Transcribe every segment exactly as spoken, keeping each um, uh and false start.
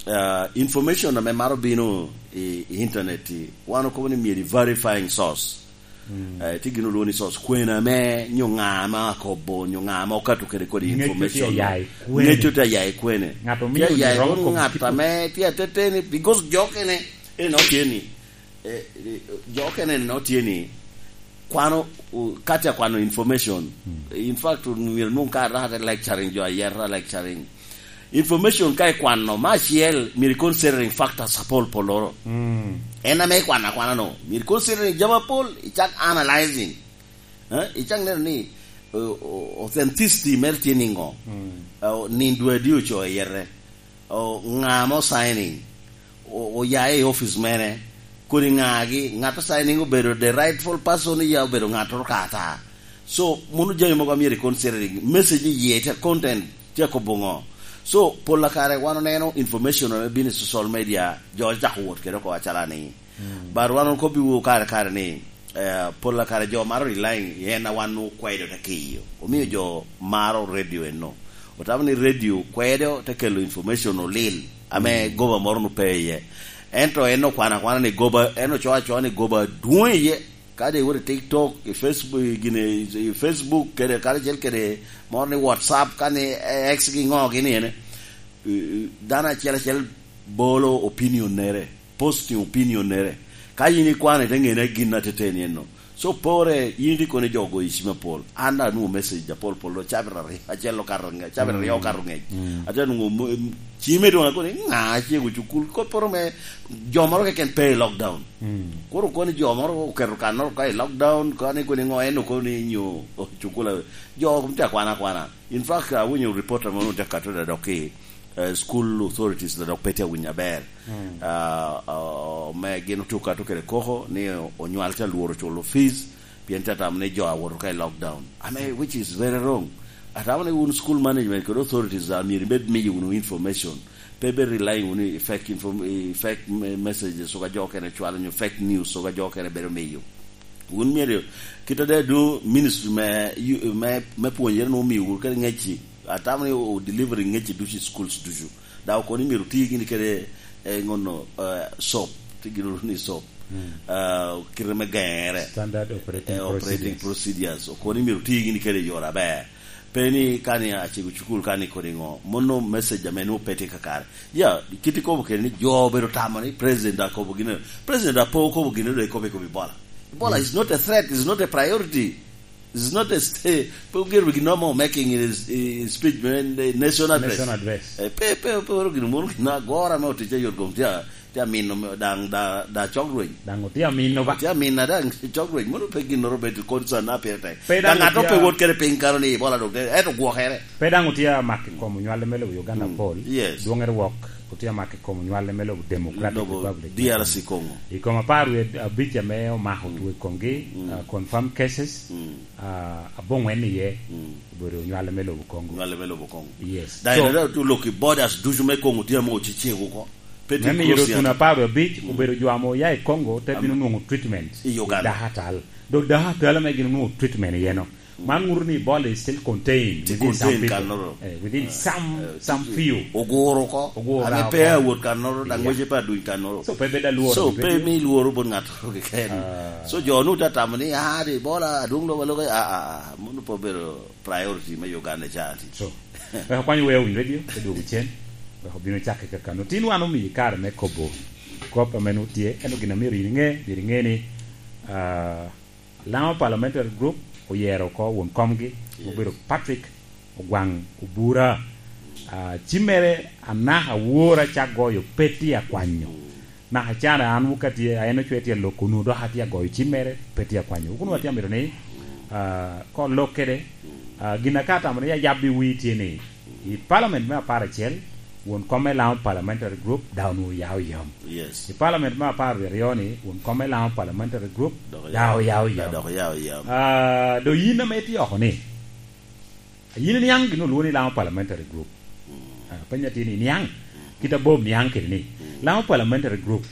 Ah, information ame maro bino i, i internet-ti, wan okobo ni myero i verifying source. Mm. Eh, tye gin olwongo ni source. Kwena ame, nyo ŋa ame akobo, nyo ŋa ame okato kede kodi information. Ŋecco tye aya i kwene. Ŋecco tye aya i kwene. Ŋat omio tye aya i romo kodi ŋat ame tye ateteni, because jo okene, eno tye ni, eh, eh, jo okene eno tye ni, kwano, u-, ka tye akwano information. Mm. In fact, myero nwoŋ ka rate lecturing, jo ayeta lecturing. Information ka ikwano, me acel, myero i considering factors apol polloro. Mm. En ame ikwano akwana no, myero i considering jami apol, icak analyzing. Eh, icak neno ni, o-, o-, authenticity mere tye niŋo? Mm. Eh, o-, nindo adi oco iyete? O, ŋa ame osigning? O-, oya i office mene? Kodi ŋagi? Ŋat osigning obedo the rightful person, ya obedo ŋattoro ka ata? So, mono jami mogo a myero i considering. Message iye tye, content tye akobo ŋo? So, pol a kare wan oneno information ame bino i social media, jo ocako wot kede oko acalo ni. Mm. But wan okobbiwu kare kare ni, eh, pol a kare jo maro relying i en a wan okwedo te kiyo. Omio jo maro radio eno. Otamo ni radio kwedo te kelo information olil, ame Mm. goba moro nu pe iye. Ento en okwano akwana ni goba, en ocoo acoa ni goba dwoŋ iye. Kadi iwot i TikTok, i Facebook, i gine, i Facebook kede, karacel kede moro ni WhatsApp, kani X gi ŋo gini ene, eh, dano acel acel bolo opinion nere, posting opinion nere. Ka in ikwano, ite ŋene gin ateteni eno. So, pore, in itye kono i jo ogoyo cim apol. An daŋ anwoŋo message apol pol, cabit aryo, acel okato ŋec, cabit aryo Mm. okato ŋec. Mm. Ate nwoŋo mo-, em, cime doŋ akono, "Ŋa acego cukul?" Kopporo me jo moro keken pe i lockdown. Mm. Koro kono jo moro oketo kannoro ka i lockdown, kani kono iŋo en okono ni nyo, oh, cukul a-, jo tye akwana akwana. In fact, awinyo report ame onwoŋo tye akato da dok ki, eh, school authorities da dok pe tye awinyo aber. Mm. Ah, ah, me gin otye okato kede koko ni onywal tye alworo culo fees, pien tye atamo ni jo awoto ka i lockdown. Ame, which is very wrong. Atamo ni wun school management kede authorities a myero ibed miyo wunu information. Pe ibed relying wunu i fake inform-, i fake me-, messages, oga jo okene cwalo nyo fake news, oga jo okene bedo miyo. Wun myero, kit ade du ministry me, yu-, me, me pwonyere nwoŋo omiyo wunu kede ŋecci. Atamo ni o delivery ŋecci ducu i schools ducu. Daŋ okono ni myero oti gini kede, eh, ŋono, eh, soap. Ti gini ni soap. Mm. Ah, kite me geŋere. Standard operating Eh, operating procedures. procedures. Okono ni myero oti gini kede i yore aber. Pe ni ka ni acego cukul ka ni kodi ŋo. Mono message ame nwoŋo pe tye kakare. Ya, kit ikobo kede ni jo obedo tamo ni president akobo gino. President apo okobo gino, dok ikobo, ikobo Ebola. Ebola Mm. is not a threat, is not a priority. It's not a sta-, pe oger wi gin mo making in his, his speech, man, the national address. National address. Eh, pe, pe, pe oro gin mono gin agora me otic a yot kom tye a, tye a mino me, daŋ, da, da cok rweny. Daŋ otye a mino ba? Tye a mino daŋ cok rweny. Mono pe gin oro bedo concern na pire tek. Pe daŋ daŋ ŋat otye pe a wot kede piny kano ni Ebola dok te, eto gwokere. Pe daŋ otye a mak i kom onywale me lobo Uganda Mm, pol. Yes. Dwoŋere wok otye a mak i kom onywale me lobo Democratic Lobo Republic. D R C Congo. I kom apar wie abic ame omako Mm. two i komgi, Mm. uh, confirmed cases. Mm. Ah, aboŋwen iye Mm. obedo nywale me lobo Congo. Nywale me lobo Congo. Yes. Daŋ So, eno daŋ tu lok i borders ducu me Congo tye ame ocecego oko. Pe tye me miyo close tun yata. Apar abic Mm. obedo jo ame oya i Congo te Am-, bino nwoŋo treatment i Uganda. Dakatal. Dok dakatal ame gin onwoŋo treatment iye no. Mm. Man ŋuto ni Ebola is still contained Tye within some contained people. Kannoro. Eh, within Ah, some, eh, some tye-, few. Oguro oko. Oguro ame oko. Pe awot kannoro, daŋ Yeah. wece pe aduny kannoro. So, pe bed alworo So, pe bed mi lworo bot ŋat keken. Ah. So, jo nu te tamo ni, "Ah, di Ebola, adwoŋ lobo aloka." Ah, ah, ah, mono pe obedo priority me Uganda ca ti. So, wek akwany wea winy radio, te dwogo cen, wek obino cakke kakano. Tin wan omiyi kare me kobo kop ame nu tye, ento gin a myero in iŋe, myero iŋe ni, ah, Laŋo Parliamentary Group oyero oko won komgi, Yes. obedo Patrick Ogwaŋ Obura. Ah, cimmere anaka awora ca goyo pe tye akwanyo. Mm. Naka can an wok atye, a en ocwe tye aloko nu dok atye agoyo cimmere pe tye akwanyo. Wok nu atye amito ni, ah, ka olok kede, ah, gin aka atamo ni ayabbi wi tye ni, i Parliament me apar acel, won kom me Laŋo Parliamentary Group daŋ onwoŋo oyao yam. Yes. I Parliament me apar aryo ni, won kom me Laŋo Parliamentary Group Dok daŋ oyao, oyao yam. Dok oyao yam. Ah, do yin ame itye oko ni, yin iniaŋ gin olwongo ni Laŋo Parliamentary Group. Mm. Ah, penyo atye ni, iniaŋ? Mm. Kit abom niaŋ kede ni, Mm. Laŋo Parliamentary Group.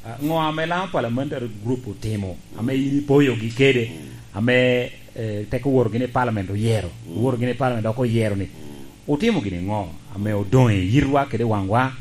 Ah, ŋo ame Laŋo Parliamentary Group otimo, ame Mm. in ipoyogi kede, Mm. ame, eh, tek oworo gini i Parliament oyero, Mm. oworo gini i Parliament dok oyero ni, Mm. otimo gini ŋo ame odoŋ i yitwa kede waŋwa?